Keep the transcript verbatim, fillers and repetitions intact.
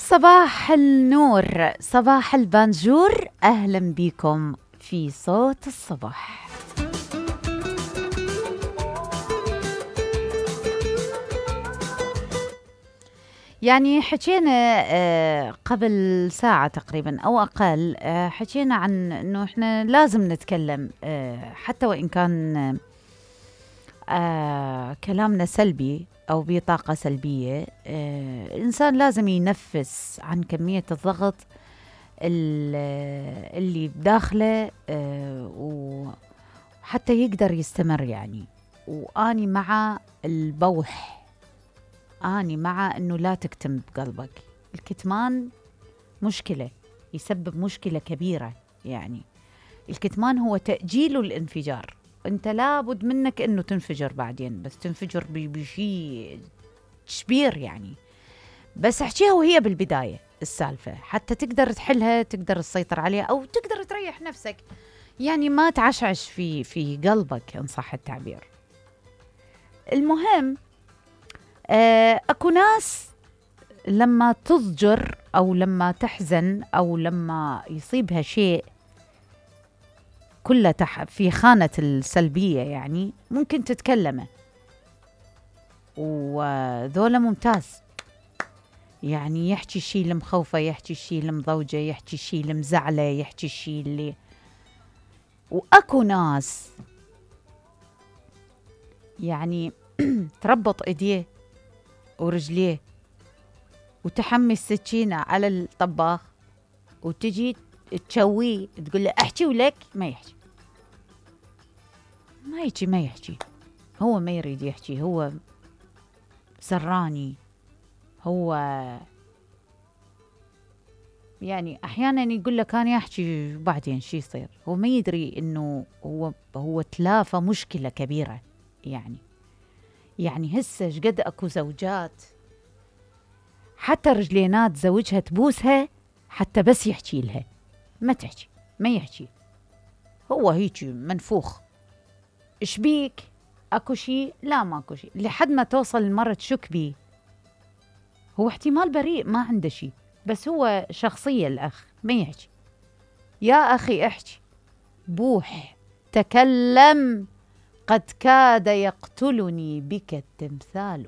صباح النور، صباح البانجور، أهلا بكم في صوت الصباح. يعني حكينا قبل ساعة تقريبا أو أقل، حكينا عن أنه إحنا لازم نتكلم حتى وإن كان كلامنا سلبي أو بطاقة سلبية. الإنسان لازم ينفس عن كمية الضغط اللي بداخله وحتى يقدر يستمر. يعني وآني مع البوح، آني مع أنه لا تكتم بقلبك. الكتمان مشكلة، يسبب مشكلة كبيرة. يعني الكتمان هو تأجيل الانفجار. أنت لابد منك أنه تنفجر بعدين، بس تنفجر بشيء كبير يعني. بس احكيها وهي بالبداية السالفة حتى تقدر تحلها، تقدر تسيطر عليها أو تقدر تريح نفسك. يعني ما تعشعش في في قلبك إن صح التعبير. المهم آه أكو ناس لما تضجر أو لما تحزن أو لما يصيبها شيء كلها في خانة السلبية، يعني ممكن تتكلمه، وذولا ممتاز. يعني يحكي الشيء اللي مخوفة، يحكي الشيء اللي مضوجة، يحكي الشيء اللي مزعلة، يحكي الشيء اللي. وأكو ناس يعني تربط ايديه ورجليه وتحمي السكينة على الطباخ وتجي تشويه تقول له احكي ولك ما يحكي، ما يحكي ما يحكي هو ما يريد يحكي، هو سراني. هو يعني احيانا يقول لك انا احكي وبعدين شي يصير، هو ما يدري انه هو هو تلافى مشكلة كبيرة. يعني يعني هسه شقد اكو زوجات حتى رجلينات زوجها تبوسها حتى بس يحكي لها، ما تحكي ما يحكي، هو هيك منفوخ. ايش بيك؟ اكو شيء؟ لا ماكو شيء، لحد ما توصل المرة تشك بيه. هو احتمال بريء ما عنده شيء، بس هو شخصية الأخ ما يحكي. يا أخي احكي، بوح، تكلم، قد كاد يقتلني بك التمثال.